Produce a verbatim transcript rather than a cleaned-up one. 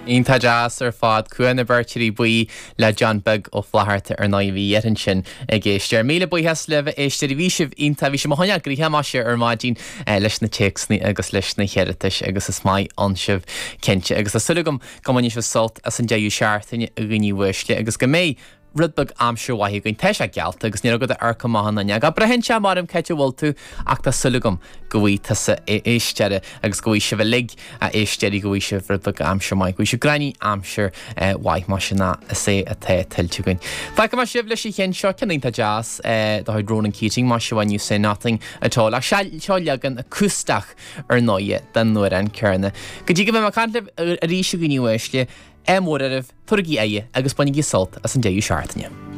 Iontach deas ar fad Cumha na bhFeirtéirí Buí le John Beag Ó Flatharta ar ndóigh bhí iad ansin ag éisteacht. Míle buíochas libh a éisteoirí bhí sibh iontach bhí sibh mo choinneáil gnoitheach maise ar maidin eh, leis na téacsanna agus leis na hiarratais agus is maith ann sibh cinnte agus tá súil agam go mbainfidh sibh sult as an deireadh seachtaine a dhaoine uaisle agus go mbeidh rud beag aimsir mhaith againn tá sé geallta agus ní go ar go maith an ga braitheann sé mar am céit bhfuil tú ach tá súil agam go bhfaighidh tusa éisteoir agus go bhfaighidh sibh uilig a éisteoirí go bhfaighidh sibh rud beag aimsir maith, go bhfaighidh sibh gráinní aimsir eh, mhaith mar sin is é atá tuillte againn. Fágfaidh mé sibh leis an cheann seo ceann iontach deas eh, de chuid Ronan Keating mar seo You Say Nothing at all ach seo leagan acústach ar ndóigh den amhrán céanna. Go dtí go mbeidh mé ag caint libh arís a dhaoine uaisle, ádh mór oraibh, tabhairigí aghaidh agus bainigí sult as an deireadh seachtaine.